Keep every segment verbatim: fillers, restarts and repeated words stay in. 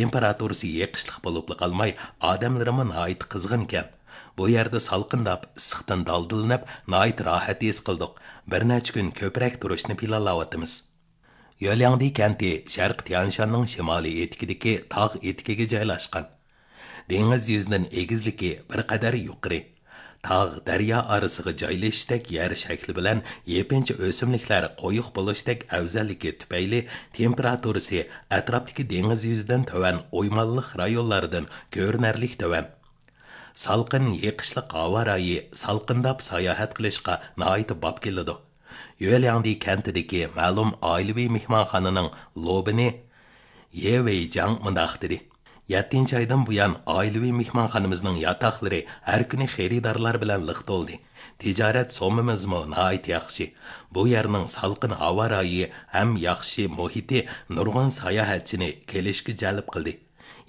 تېمپېراتۇرىسى يېقىشلىق بولۇپلا قالماي، ئادەملىرىمۇ ناھايىتى قىزغىنكەن. بۇ يەردە سالقىنداپ، ئىسسىقتىن دالدىلىنىپ، ناھايىتى راھەت ھېس قىلدۇق. بىر نەچچە كۈن كۆپرەك تۇرۇشنى پىلانلاۋاتىمىز. يۆلياڭدى كەنتى شەرقىي تيانشاننىڭ شىمالىي ئېتىكىدىكى تاغ ئېتىكىگە جايلاشقان. دېڭىز يۈزىدىن ئېگىزلىكى بىر قەدەر يۇقىرى. تاغ، دەريا ئارىسىغا جايلىشىشتەك يەر شەكلى بىلەن يېپىنچا ئۆسۈملۈكلەر قويۇق بولۇشتەك ئەۋزەللىكى تۈپەيلى تېمپېراتۇرىسى ئەتراپتىكى دېڭىز يۈزىدىن تۆۋەن ئويمانلىق رايونلاردىن كۆرۈنەرلىك تۆۋەن. سالقىن، يېقىشلىق ھاۋا رايى سالقىنداپ ساياھەت قىلىشقا ناھايىتى باب كېلىدۇ. يۆلياڭدى كەنتىدىكى مەلۇم ئائىلىۋى مېھمانخانىنىڭ لوبىنى يې ۋېيجاڭ مۇنداق دېدى: «يەتتىنچى ئايدىن بۇيان، ئائىلىۋى مېھمانخانىمىزنىڭ ياتاقلىرى ھەر كۈنى خېرىدارلار بىلەن لىق تولدى. تىجارەت سوممىمىزمۇ ناھايىتى ياخشى. بۇ يەرنىڭ سالقىن ھاۋا رايى ھەم ياخشى مۇھىتى نۇرغۇن ساياھەتچىنى كېلىشكە جەلپ قىلدى.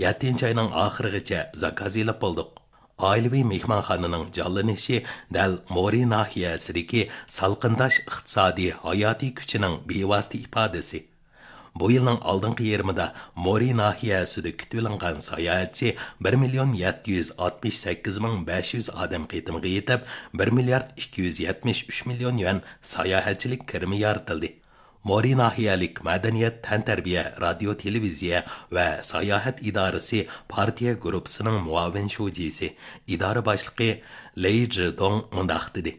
يەتتىنچى ئاينىڭ ئاخىرىغىچە زاكاز ئېلىپ بولدۇق.» ئائىلىۋى مېھمانخانىنىڭ جانلىنىشى دەل مورى ناھىيەسىدىكى سالقىنداش ئىقتىسادىي ھاياتىي كۈچىنىڭ بىۋاسىتە ئىپادىسى. بۇ يىلنىڭ ئالدىنقى يېرىمىدا مورى ناھىيەسىدە كۈتۈۋېلىنغان ساياھەتچى بىر مىليون يەتتە يۈز ئاتمىش سەككىز مىڭ بەش يۈز ئادەم قېتىمغا يېتىپ، بىر مىليارد ئىككى يۈز يەتمىش ئۈچ مىليون يۈەن ساياھەتچىلىك كىرىمى يارىتىلدى. مورى ناھىيەلىك مەدەنىيەت، تەنتەربىيە، رادىيو، تېلېۋىزىيە ۋە ساياھەت ئىدارىسى پارتىيە گۇرۇپپىسىنىڭ مۇئاۋىن شۇجىسى، ئىدارە باشلىقى لېي جىدوڭ مۇنداق دېدى: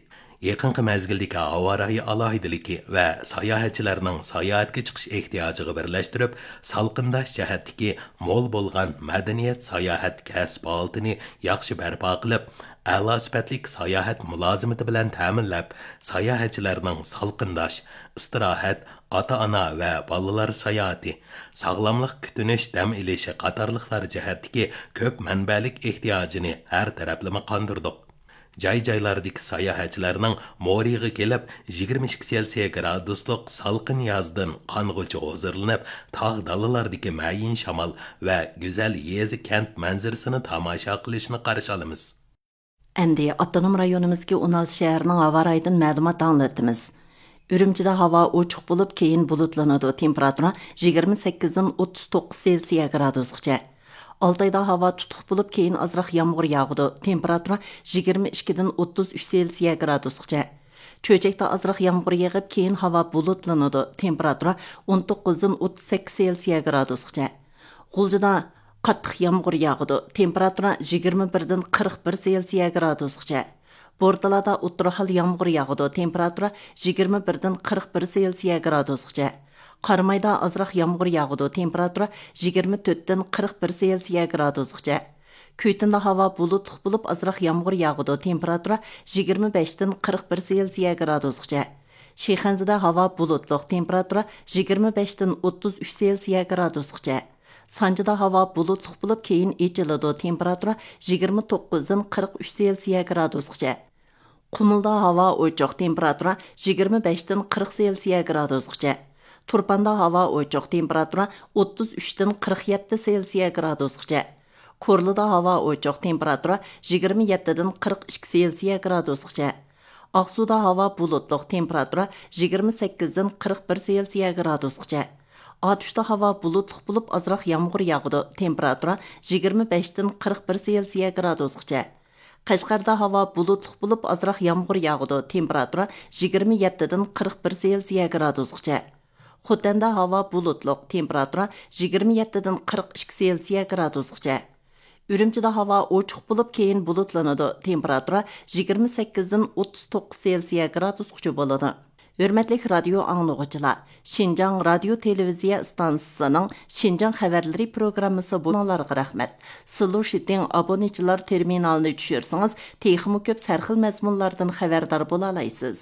«يېقىنقى مەزگىلدىكى ھاۋا رايى ئالاھىدىلىكى ۋە ساياھەتچىلەرنىڭ ساياھەتكە چىقىش ئېھتىياجىغا بىرلەشتۈرۈپ، سالقىنداش جەھەتتىكى مول بولغان مەدەنىيەت ساياھەت كەسىپ ھالىتىنى ياخشى بەرپا قىلىپ، ئەلا سۈپەتلىك ساياھەت مۇلازىمىتى بىلەن تەمىنلەپ، ساياھەتچىلەرنىڭ سالقىنداش، ئىستىراھەت، ئاتا-ئانا ۋە بالىلار ساياھىتى، ساغلاملىق كۈتۈنۈش دەم ئېلىشى قاتارلىقلار جەھەتتىكى كۆپ مەنبەلىك ئېھتىياجىنى ھەر تەرەپلىمە قاندۇردۇق. جاي-جايلاردىكى ساياھەتچىلەرنىڭ مورىغا كېلىپ، يىگىرمە ئىككى سېلسىيە گرادۇسلۇق سالقىن يازدىن قانغۇچە ھۇزۇرلىنىپ، تاغ دالىلاردىكى مەيىن شامال ۋە گۈزەل يېزا، كەنت مەنزىرىسىنى تاماشا قىلىشىنى قارشى ئالىمىز.» ئەمدى ئاپتونوم رايونىمىزدىكى ئون ئالتە شەھەرنىڭ ھاۋا رايىدىن مەلۇمات ئاڭلىتىمىز. ئۈرۈمچىدە ھاۋا ئوچۇق بولۇپ، كېيىن بۇلۇتلىنىدۇ، تېمپېراتۇرا يىگىرمە سەككىزدىن ئوتتۇز توققۇز سېلسىيە گرادۇسقىچە. ئالتايدا ھاۋا تۇتۇق بولۇپ، كېيىن ئازراق يامغۇر ياغىدۇ، تېمپېراتۇرا يىگىرمە ئىككىدىن ئوتتۇز ئۈچ سېلسىيە گرادۇسقىچە. چۆچەكتە ئازراق يامغۇر يېغىپ، كېيىن ھاۋا بۇلۇتلىنىدۇ، تېمپېراتۇرا ئون توققۇزدىن ئوتتۇز سەككىز سېلسىيە گرادۇسقىچە. غۇلجىدا قاتتىق يامغۇر ياغىدۇ، تېمپېراتۇرا يىگىرمە بىردىن قىرىق بىر سېلسىيە گرادۇسقىچە. بورتالادا ئوتتۇرا ھال يامغۇر ياغىدۇ، تېمپېراتۇرا يىگىرمە بىردىن قىرىق بىر سېلسىيە گرادۇسقىچە. قارامايدا ئازراق يامغۇر ياغىدۇ، تېمپېراتۇرا يىگىرمە تۆتتىن قىرىق بىر سېلسىيە گرادۇسقىچە. كۈيتىندا ھاۋا بۇلۇتلۇق بولۇپ، ئازراق يامغۇر ياغىدۇ، تېمپېراتۇرا يىگىرمە بەشتىن قىرىق بىر سېلسىيە گرادۇسقىچە. شىخەنزىدە ھاۋا بۇلۇتلۇق، تېمپېراتۇرا يىگىرمە بەشتىن ئوتتۇز ئۈچ سېلسىيە گرادۇسقىچە. سانجىدا ھاۋا بۇلۇتلۇق بولۇپ، كېيىن ئېچىلىدۇ، تېمپېراتۇرا يىگىرمە توققۇزدىن قىرىق ئۈچ سېلسىيە گرادۇسقىچە. قۇمۇلدا ھاۋا ئوچۇق، تېمپېراتۇرا يىگىرمە بەشتىن قىرىق سېلسىيە گرادۇسقىچە. تۇرپاندا ھاۋا ئوچۇق، تېمپېراتۇرا ئوتتۇز ئۈچتىن قىرىق يەتتە سېلسىيە گرادۇسقىچە. كورلىدا ھاۋا ئوچۇق، تېمپېراتۇرا يىگىرمە يەتتىدىن قىرىق ئىككى سېلسىيە گرادۇسقىچە. ئاقسۇدا ھاۋا بۇلۇتلۇق، تېمپېراتۇرا يىگىرمە سەككىزدىن قىرىق بىر سېلسىيە گرادۇسقىچە. ئاتۇشتا ھاۋا بۇلۇتلۇق بولۇپ، ئازراق يامغۇر ياغىدۇ، تېمپېراتۇرا يىگىرمە بەشتىن قىرىق بىر سېلسىيە گرادۇسقىچە. قەشقەردە ھاۋا بۇلۇتلۇق بولۇپ، ئازراق يامغۇر ياغىدۇ، تېمپېراتۇرا يىگىرمە يەتتىدىن قىرىق بىر سېلسىيە گرادۇسقىچە. خوتەندە ھاۋا بۇلۇتلۇق، تېمپېراتۇرا يىگىرمە يەتتىدىن قىرىق ئىككى سېلسىيە گرادۇسقىچە. ئۈرۈمچىدە ھاۋا ئوچۇق بولۇپ، كېيىن بۇلۇتلىنىدۇ، تېمپېراتۇرا يىگىرمە سەككىزدىن ئوتتۇز توققۇز سېلسىيە گرادۇسقىچە بولىدۇ. ھۆرمەتلىك رادىيو ئاڭلىغۇچىلار، شىنجاڭ رادىيو تېلېۋىزىيە ئىستانسىسىنىڭ شىنجاڭ خەۋەرلىرى پروگراممىسى بۇ-، ئاڭلىغۇچىلارغا رەھمەت. سىلۇشىتىڭ ئابونېنتچىلار تېرمىنالىنى چۈشۈرسىڭىز، تېخىمۇ كۆپ سەرخىل مەزمۇنلاردىن خەۋەردار بولالايسىز.